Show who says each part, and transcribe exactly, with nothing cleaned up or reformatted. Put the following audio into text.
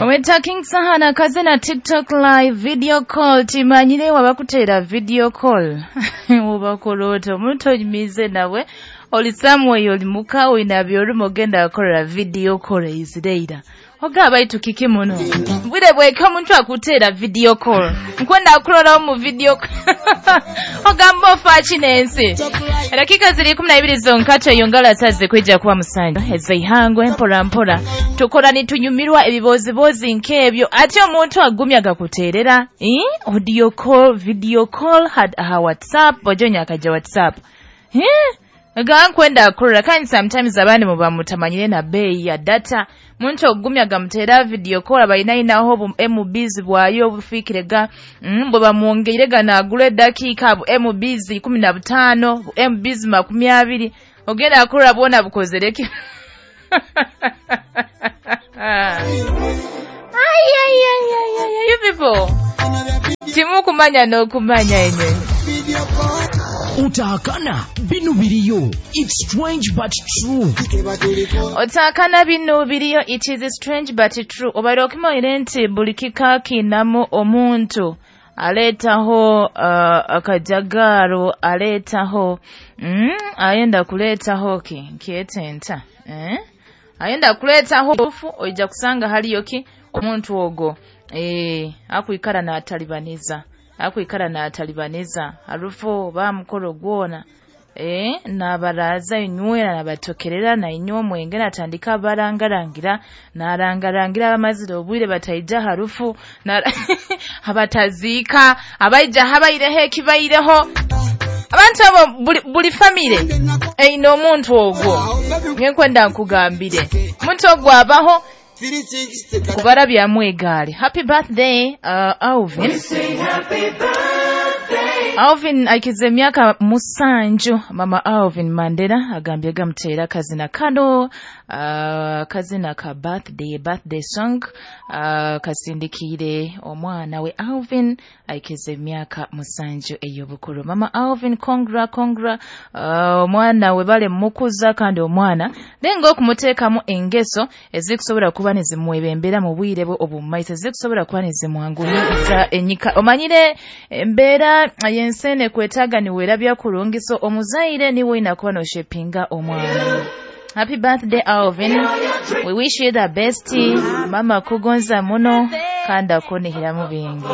Speaker 1: Omweta King Sahana kazina TikTok live video call. Timanyire wabakuteera video call obakola ota? Omuntu onyumize nawe, oli somewhere, oli muka, oyina byolimu, ogenda akolera video call eizireira ogaba itu kiki muno bwire bweka. Omuntu akuteera video call, nkwenda kulorawo mu video, ogamba ofa ki n'ensi? Edakika ziri kumi na ibiri zonka tweyongala saze kwijja kuba musanju ezeihangwe. Mpora mpora tukora nitunyumirwa ebibozibozi nk'ebyo, ate omuntu agumya gakuteerera, eh? Audio call, video call had aha WhatsApp, ojonya akaja WhatsApp, eh? Gankwenda akurora. Kandi sometimes abandi muba mutamanyire na beeyi ya data. Muntu ogumya gamuteera video call, abalinainaho bu M Bs bwayo obufiikire ga mm, bwe bamwongeire ganaagula eddakiika bu M Bs ikumi na butaano, bu M Bs makumi abiri, ogenda akurora bwona bukozereki. Ai, ai, ai, ai, ai, you people timukumanya n'okumanya enyonyi.
Speaker 2: Otaakana bino biriyo. It's strange but true.
Speaker 1: Otaakana bino biriyo. It is strange but true. Obaire okimanyire nti buli kika kinamu omuntu aleetaho uh, akajagaaro, aleetaho mm, ayenda kuleetaho ki nkyetenta, eh? Ayenda kuleetaho obufu. Oija kusanga haliyo ki omuntu ogwo, eh, akwikara n'atalibaniza, akwikara n'atalibaniza harufu oba mukoro gwona, eh, nabaraza inywera, nabatokerera, nainywa omwenge, natandika barangarangira, narangarangira abamazire obwire bataija harufu na abataziika abaija habaireho ekibaireho. Abantu abo buli, buli famire eyina omuntu ogwo. Ngenkwenda nkugambire, omuntu ogwo abaho kubarabyamu egaali. Happy birthday, uh, Alvin. Alvin aikize emyaka musanju. Mama Alvin Mandela agambye gamuteera kazina kano, uh, kazina ka birthday, birthday song, uh, kasindikiire omwana we Alvin aikize emyaka musanju ey'obukulu. Mama Alvin, congra, congra. uh, omwana we bale mukuza, kandi omwana nenga okumuteekamu engeso ezikusobola kuba nezimwebembera mu bwire bwe obumumaiso, ezikusobola kuba nezimwanguyiza enyika. Omanyire embeera y'ensi kwetaaga niweerabya kurungi, so omuzaire niwe oyina kuba noshepinga omwana. Happy birthday, Alvin. We wish you the best. Mama kugonza muno kandi akunihiramu bingi.